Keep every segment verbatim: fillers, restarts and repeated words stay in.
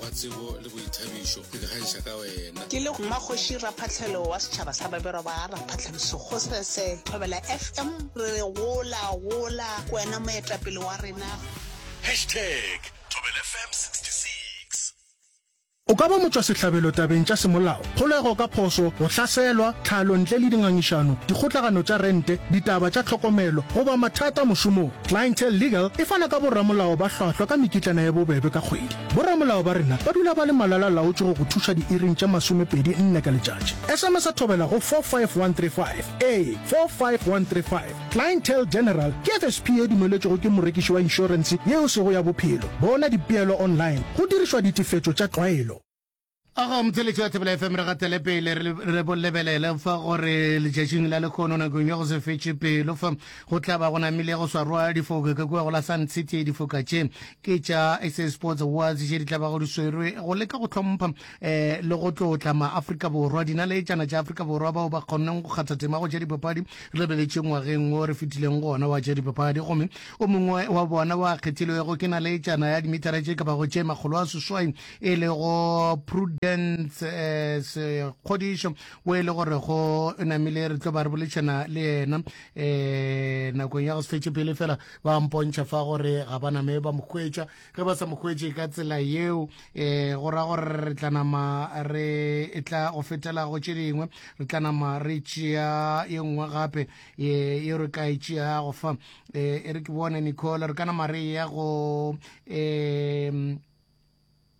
Wa tsebo le boithabišo, ke ikgantšha ka wena. Ke le Mmakgoši Raphahlelo wa setšhaba sa Babelwa ba Raphahlelo Sekgosese, Thobela F M, re re gola, gola, ke wena moetapele wa rena. Hashtag Thobela F M sixty-six. O ka ba motšwasehlabelo tabeng tša semolao, kgolego ka phošo, go hlaselwa, tlhalo ntle le dingangišano, dikgotlagano tša rente, ditaba tša tlhokomelo, goba mathata mošomong. Clientele Legal e fana ka boramolao ba hlwahlwa ka mekitlana ye bobebe ka kgwedi. Boramolao ba rena ba dula ba le malala-laotšwe go go thuša diiring tše masomepedi nne ka letšatši. S M S Thobela go four five one three five. Ee, four five one three five. Clientele General ke F S P ye dumeletšwego ke morekiši wa inšorense yeo sego ya bophelo. Bona dipeelo online go dirišwa ditefetšo tša tlwaelo. Aga motheletši wa Thobela F M, re gatele pele re re bo lebelele fa gore letšatšing la lekgono nakong ya go se fetše pelo fa go tla ba go namile go swarwa difoka ka kua go la Sun City. Difoka tše ke tša S A Sports Awards tše di tla ba go di swerwe go leka go hlompha um le go tlotla maAfrika Borwa, dinaletšana tša Afrika Borwa bao ba kgonneng go kgatha tema go tša dipapadi re lebeletše ngwageng wo re fetileng gona wa tša dipapadi. Gomme o mongwe wa bona wa kgethilwego ke naletšana ya dimetara tše ka bago tše makgolo a seswai e lego Prudence eh, Sekgodišo, o e le gore go namile re tlo ba re boledišana le yena um nakong ya go se fetše pele. Fela ba mpontšha fa gore ga ba name ba mo hwetša. Ge ba sa mo hwetše ka tsela yeo, um go ra gore re tla nama re e tla go fetela go tše dingwe, re tla nama re tšea ye nngwe gape ye re ka e tšeago fa. um e re ke bone Nicole, re ka nama re ya go um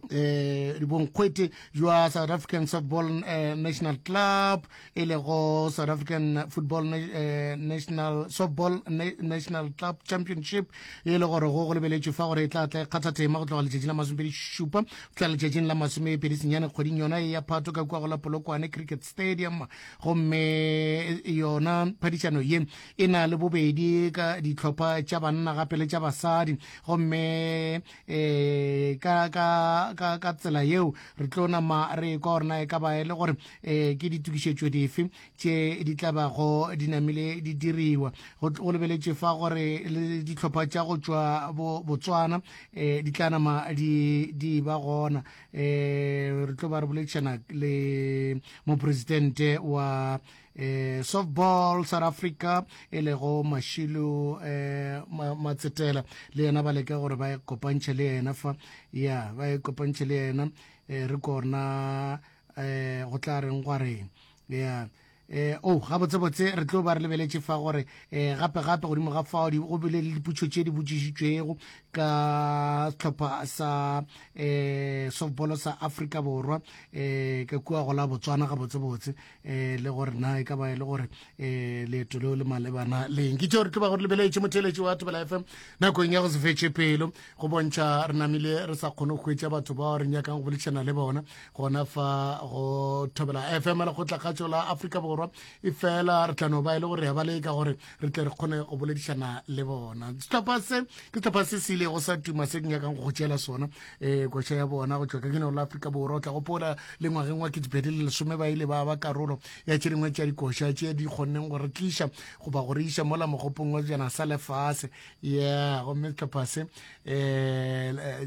eh bonkgwete jwa South African Softball eh, National Club, e lego South African Football eh, National Softball National Club Championship, e le gore go go lebeletšwe fa gore e tla tla e kgatha tema go tloga letšatši la masomepedi šupa go tla letšatšing la masomepedi senyane kgweding yona e ya Phato ka kua go la Polokwane Cricket Stadium. Gomme yona phadišano ye e na le bobedi ka dihlopha tša banna gape le tša basadi. Gomme um ka ka ka ka tsela yeo re tlo nama re kwa gore na e ka ba e le gore um ke ditokišetšo dife tše di tla bago di namile di diriwa. Go lebeletše fa gore le dihlopha tša go tšwa Botswana um di tla nama di di ba gona. um re tlo ba re boledišana le mopresidente wa eh Softball South Africa e lego Mashilo eh Matsetela, le yena ba leka gore ba kopantšhe le yena fa, ya ba e kopantšhe le yena, eh re kona eh go tla reng gwa reng ya eh oh gabotsebotse re tlo ba re lebeletše fa gore eh gape gape godimo ga fao go bile le diputšo tše di botšišitšwego ka sehlopha sa eh softball sa Afrika Borwa eh ka kua go la Botswana gabotsebotse, eh le gore na e ka ba e le gore eh leeto leo le malebana leng. Ke tšeo re tlo ba go re lebeletše, motheletši wa Thobela F M, nakong ya go se fetše pelo. Go bontšha re namile re sa kgone go hwetša batho bao re nyakang go boledišana le bona gona fa go Thobela F M, lekgotlakgatšo la Afrika Borwa, e fela re tla no ba e le gore ya ba leka gore re tle re kgone go boledišana le bona. Sehlopha se ke sehlopha se se ilego sa tuma se ke nyakang go go tšeela sona, um koša ya bona go tšwa ka keneo la Afrika Borwa. O tla gopola le ngwageng wa ketepedi le lesome ba ile ba ba karolo ya tše dingwe tša dikoša tše di kgonneng go re tliša goba go re iša mola mogopong wa jana sa lefase. Yeah, gomme sehlopha se um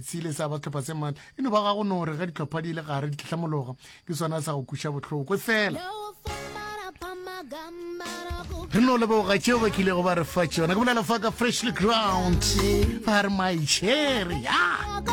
se ile sa ba sehlopha se maatla, e no ba ga go no re ge dihlopha di ile gare di tlhlamologa ke sona sa go kuša bohloko. Fela re no leboga tšeo ba kilego ba re fa tšona. Ke bolela fa ka Freshly Ground, ba re My Cherry ya.